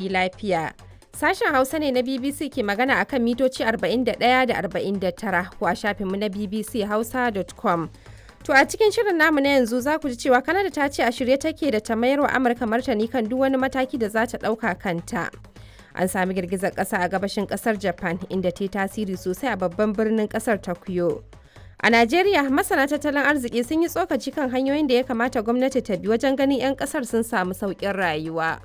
Lafiya. Sashen Hausa ne na BBC ke magana a kan mitoci 41 da 49 ko a shafinmu na bbchausa.com. To a cikin shirin namu na yanzu za ku ji cewa Kanada ta ce a shirye take da ta mayar wa Amurka martani kan duk wani mataki da za ta ɗauka kanta. An sami girgizar ƙasa a gabashin ƙasar Japan, inda ta yi tasiri sosai a babban birnin ƙasar, Tokyo. A Najeriya, masana tattalin arziki sun yi tsokaci kan hanyoyin da ya kamata gwamnati ta bi wajen ganin 'yan ƙasar sun samu sauƙin rayuwa.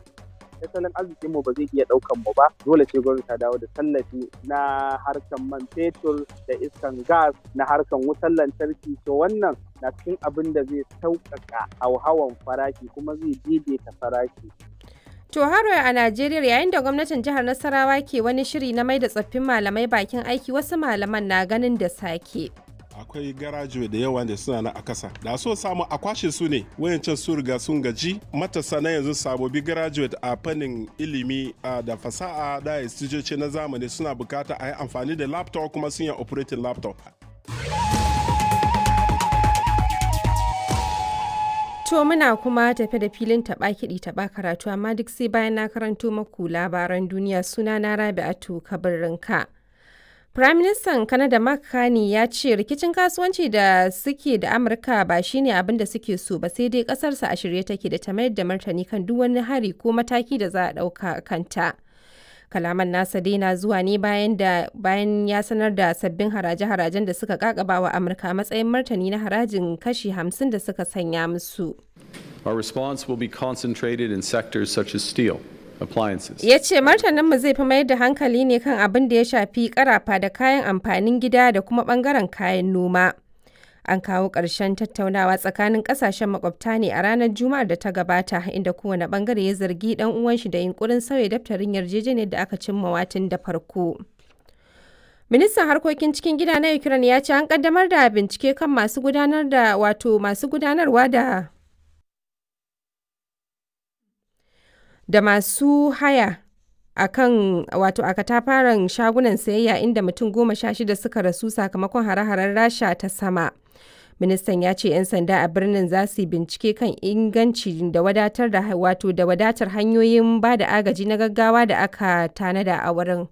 Tattalin arzikin mu ba zai iya daukan mu ba, dole sai gwamnati ta dawo da tallafi na harkan man fetur da iskan gas, na harkan wutar lantarki. To, wannan na cikin abin da zai sauƙaƙa hauhawan farashi kuma zai daidaita farashi. To haro a Najeriya, yayin da gwamnatin jihar Nasarawa ke wani shiri na mai da tsoffin malamai bakin aiki, wasu malaman na ganin da sake. Akwai garajuwe da yawa da suna na a kasa, da so samu a kwashe su ne. Wayancan su riga sun gaji. Matasa na yanzu, sabobi graduate a fannin ilimi da fasaha da instituce na zamani, suna bukata a yi amfani da laptop, kuma sun yi operating laptop. To muna kuma tafe da filin taɓa kiɗi taɓa karatu, amma duk sai bayan na karanto maku labaran duniya. Suna na Rabi'atu Kabirinka. Firaministan Kanada Mark Carney ya ce rikicin kasuwanci da suke da Amurka ba shine abin da suke so ba, sai dai kasarsa a shirye take da ta mayar da martani kan duk wani hari ko mataki da za a ɗauka kanta. Kalaman nasa dai na zuwa ne bayan da bayan ya sanar da sabbin haraje-harajen da suka kakaba wa Amurka a matsayin martani na harajin kashi 50 da suka sanya musu. Our response will be concentrated in sectors such as steel, appliances. Ya ce martaninmu zai fi mayar da hankali ne kan abin da ya shafi karafa da kayan amfanin gida da kuma bangaren kayan noma. An kawo ƙarshen tattaunawa tsakanin ƙasashen makwabta ne a ranar Juma'ar da ta gabata, inda kowane bangare ya zargi ɗan uwan shi da yunkurin sauya daftarin yarjejeniyar da aka cimma watin da farko. Ministan harkokin cikin gida na Ukraine ya ce an kaddamar da bincike kan masu gudanar da, wato masu gudanarwa da masu haya a kan, wato a katafaren shagunan sayayya inda mutum 16 suka rasu sakamakon hare-haren Rasha ta sama. Ministan ya ce 'yan sanda a birnin za su yi bincike kan inganci da wadatar da, wato da wadatar hanyoyin ba da agaji na gaggawa da aka tanada a wurin.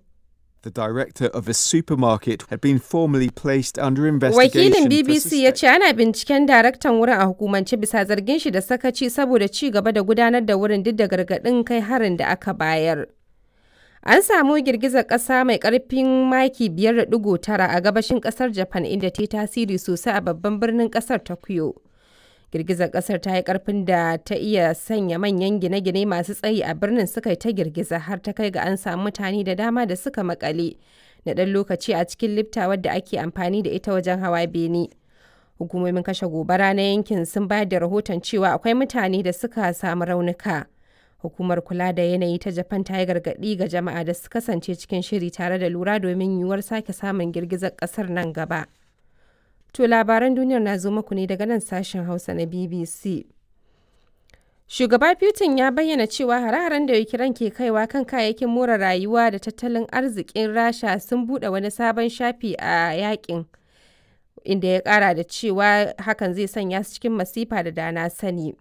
The director of a supermarket had been formally placed under investigation. Wakilin for BBC ya ce ana binciken daraktan wurin a hukumance bisa zargin shi da sakaci saboda ci gaba da gudanar da wurin duk da gargaɗin kai harin da aka bayar. An samu girgizar ƙasa mai ƙarfin maki 5.9 a gabashin ƙasar Japan, inda ta yi tasiri sosai a babban birnin ƙasar Tokyo. Girgizar ƙasar ta yi ƙarfin da ta iya sanya manyan gine-gine masu tsayi a birnin suka yi ta girgiza, har ta kai ga an samu mutane da dama da suka makale na ɗan lokaci a cikin lifta wadda ake amfani da ita wajen hawa bene. Hukumomin kashe gobara na yankin sun bayar da rahoton cewa akwai mutane da suka samu raunuka. Hukumar kula da yanayi ta Japan ta yi gargaɗi ga jama'a da su kasance cikin shiri tare da lura domin yiwuwar sake samun girgizar ƙasar nan gaba. To labaran duniyar na zo muku ne daga nan sashen Hausa na BBC. Shugaba Putin ya bayyana cewa hare-haren da Ukraine ke kaiwa kan kayayyakin more rayuwa da tattalin arzikin Rasha sun buɗe wani sabon shafi a yakin, inda ya ƙara da cewa hakan zai sanya su cikin masifa da dana sani.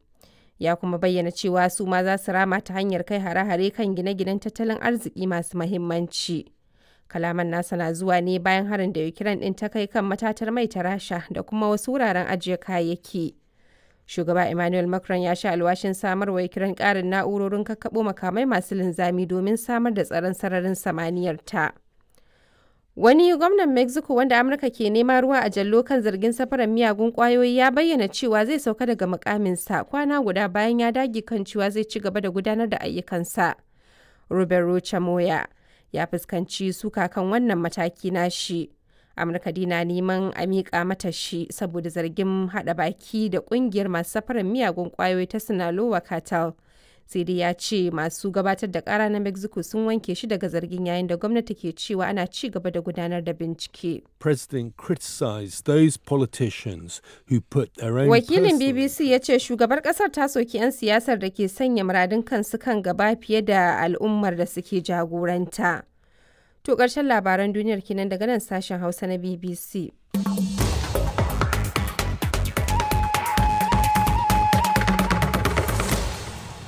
Ya kuma bayyana cewa su ma za su rama ta hanyar kai hare-hare kan gine-ginen tattalin arziki masu mahimmanci. Kalaman nasa na zuwa ne bayan harin da Ukraine ɗin ta kai kan matatar mai ta Rasha da kuma wasu wuraren ajiye kayayyaki. Shugaba Emmanuel Macron ya sha alwashin samarwa Ukraine ƙarin na'urorin kakkaɓo makamai masu linzami domin samar da tsaron sararin samaniyar ta. Wani gwamnan Mexico wanda Amurka ke nema ruwa a jallo kan zargin safarar miyagun kwayoyi ya bayyana cewa zai sauka daga mukaminsa, kwana guda bayan ya dage kan cewa zai ci gaba da gudanar da ayyukansa. Robert Rocha Moya ya fuskanci suka kan wannan mataki nashi. Amurka dina neman a miƙa mata shi saboda zargin haɗa baki da ƙungiyar masu safarar miyagun kwayoyi ta Sinaloa Cartel. Sai dai ya ce masu gabatar da kara na Mexico sun wanke shi daga zargin, yayin da gwamnati ke cewa ana ci gaba da gudanar da bincike. President criticized those politicians who put their own Wakilin personal BBC ya ce shugabar kasar ta soki 'yan siyasar da ke sanya muradun kansu kan gaba fiye da al'ummar da suke jagoranta. To ƙarshen labaran duniyar kenan daga nan sashen Hausa na BBC.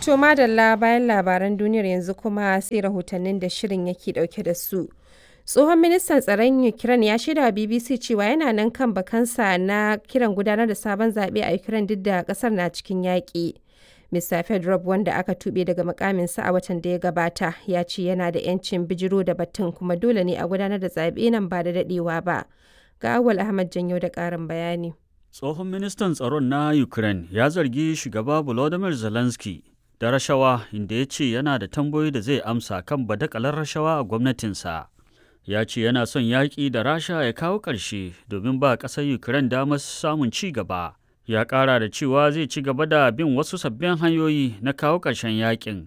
To madalla bayan labaran duniyar yanzu kuma sai rahotannin da shirin yake dauke da su. Tsohon ministan tsaron Ukraine ya shaida wa BBC cewa yana nan kan bakansa na kiran gudanar da sabon zaɓe a Ukraine duk da ƙasar na cikin yaƙi. Mr. Fedorov wanda aka tuɓe daga mukaminsa a watan da ya gabata ya ce yana da 'yancin bijiro da batun kuma dole ne a gudanar da zaɓe nan ba da daɗewa ba. Ga Awal Ahmad Janyo da ƙarin bayani. Tsohon ministan tsaron na Ukraine ya zargi shugaba Volodymyr Zelensky da rashawa inda ya ce yana da tambayoyi da zai amsa kan badakalar rashawa a gwamnatinsa. Ya ce yana son yaƙi da Rasha ya kawo ƙarshe domin ba ƙasar Ukraine damar samun ci gaba. Ya ƙara da cewa zai ci gaba da bin wasu sabbin hanyoyi na kawo ƙarshen yaƙin.